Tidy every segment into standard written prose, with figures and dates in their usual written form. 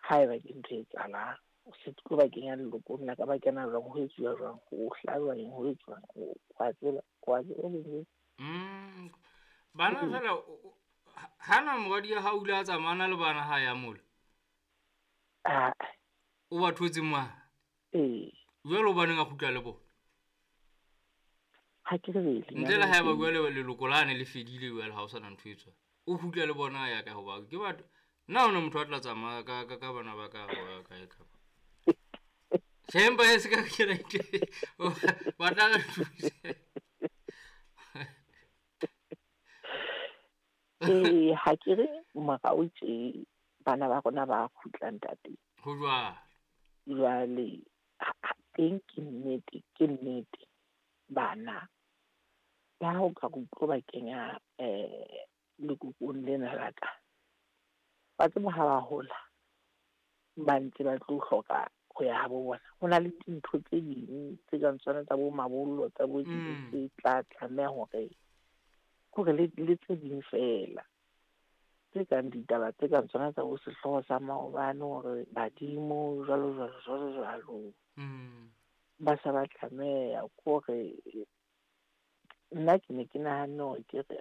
Haeba ke ntho e etsahalang, o se tlo ba kenya lelokong la ka, ba kena jwang, ho etsuwa jwang, ho hlajwa eng, ho etsuwang, wa tseba, wa tseba. Bana fela hana moradi ya hao o ile a tsamaya le bana ha ya mola. Ah. O ba thotse ma? Ee. Jwale o baneng a kgutla le bona? Ha ke re ntle le haeba jwale leloko lane le fedile jwale ha o sana ntho e tswa. O kgutla le bona ya ka hoba ke batho. Nna hona motho a tla tsamaya ka ka ka bana ba ka ba ka ka. Shemba e se ka ke re ba tla re thusa. Ee, ha ke re morao tje bana ba rona ba kgutla ntate. Ho jwalo. Jwale teng ke nnete, ke nnete. Bana ba ho ka re tlo ba kenya lekokong lena la ka. Ba tseba ha ba hola ba ntse ba tlo hloka ho ya habo bona. Ho na le dintho tse ding tse kang tsona tsa bo mabollo, tsa bo tse tla tlameha hore kore le tse ding fela tse kang ditaba tse kang tsona tsa bo sehlooho sa maobane hore badimo jwalo jwalo jwalo jwalo. Ba sa ba tlameha kore nna ke ne ke nahanne hore ke re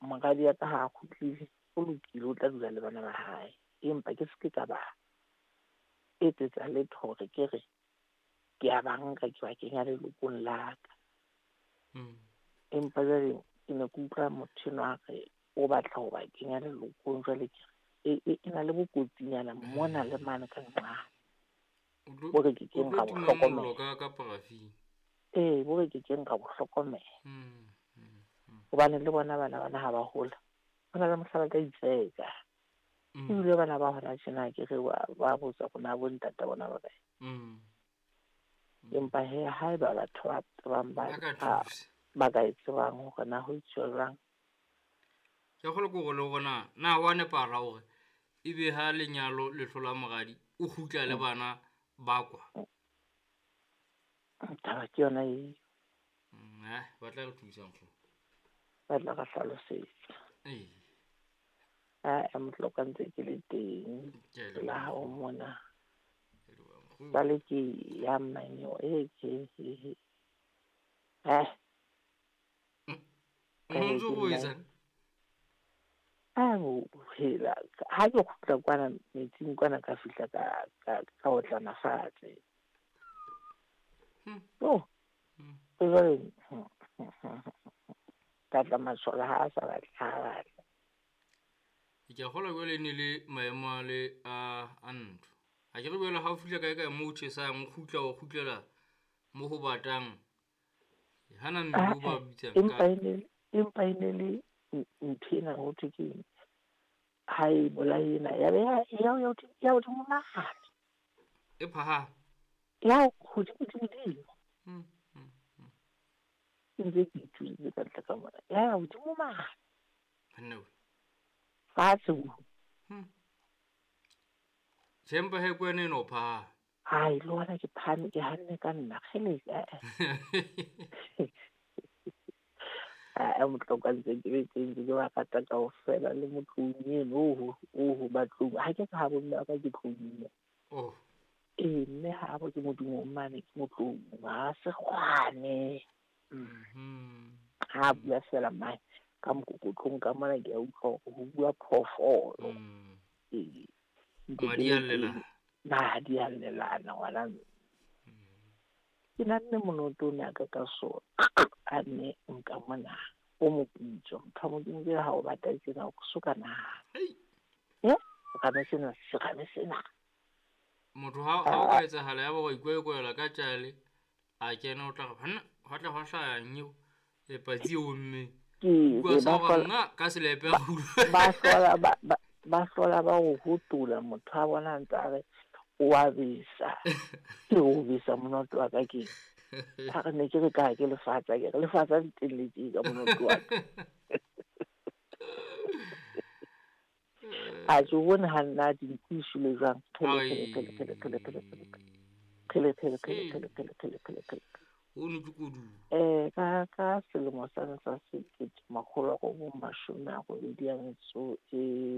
moradi ya ka ha kgutlile, o lokile, o tla dula le bana ba hae. Empa ke se ke ka ba etsetsa letho hore ke re ke a ba nka ke ba kenya lelokong la ka. Empa jwale ke ne ke utlwa motho enwa a re o batla ho ba kenya lelokong, jwale ke re e na le bokotsinyana mona le mane ka nqane. Bo re ke keng ra bo hlokomela. Ka parafini. Ee, bo re ke keng ra bo hlokomela. Hobane le bona bana bana ha ba hola, ho na le mohla ba tla itseka. Ebile bana ba hona tjena ke re ba botsa rona bo ntata bona ba kae. Empa he haeba batho ba tsebang ba ka e tsebang hore na ho etsuwa jwang. Ke kgolwa ke hore le hore na wa nepahala hore ebe ha lenyalo le hlola moradi o kgutla le bana ba kwa. Taba ke yona eo. Ba tla re thusa nkgono. Ba tla re hlalosetsa. Ee. A motloka ntse ke le teng. La hao mona. Jwale ke ya mmanyo e ke he. Ntso o etsang? A hela ha ke kgutla kwana metsing kwana ka fihla ka otlana fatshe. Oh. Jwale ka tla masole ha a sa batle ha batla. Ke a kgolwa jwale ne le maemo a le a ntho. Ha ke re jwale ha o fihla kae kae moo o tjhesang, o kgutla o kgutlela mo ho batang. Hana mmele o ba bitsang ka. Empa e ne le ntho ena ho thwe ke ha e bolae ena ya be ya hodimo mane. E phahame. Ya hodimo dimo. Ke ntse ke ituletse ka ntle ka mona. Ya hodimo mane. Hanna. Fatshe. Tjhempa he kwene no pha. Hai, le hona ke phahame ke hanne ka nna kgele. A motloka ntse ke le teng ke ba rata kaofela le motlong eno o batlong. Ha ke ka ha bomme ba ka ke tlong. Oh. Ee, mme ha bo ke modimo mane ke motlong ha se kgwane. Ha bua fela mane ka mokokotlong ka mona ke a utlwa hore ho bua phoofolo. Ee. Madi a llelana. Madi a llelana ngwana. Ke nanne monoto o ne a ka so a nne nka mona o moputso motho wa Modimo ke ha o bata tjena o so ka nahana. Serame sena, serame sena. Motho ha o ka etsahala ya ba wa ikwekwela ka tjale a kena o tla re banna hwa tla hwa hlaya eng e patsi e ommeng. Ke ka selepe ba hlola ba o hotola motho a bona ntse a re o a besa. Ke o besa monoto wa ka ke. Ha re ne ke re ka ke lefatsa ke re lefatsa le teng le teng ka monoto wa ka. A tso bone ha nna dinku shule jwang. Kgele kgele kgele kgele kgele kgele. Kgele kgele kgele kgele kgele kgele kgele kgele. O ne ke kodu. Ka selemo sa 1988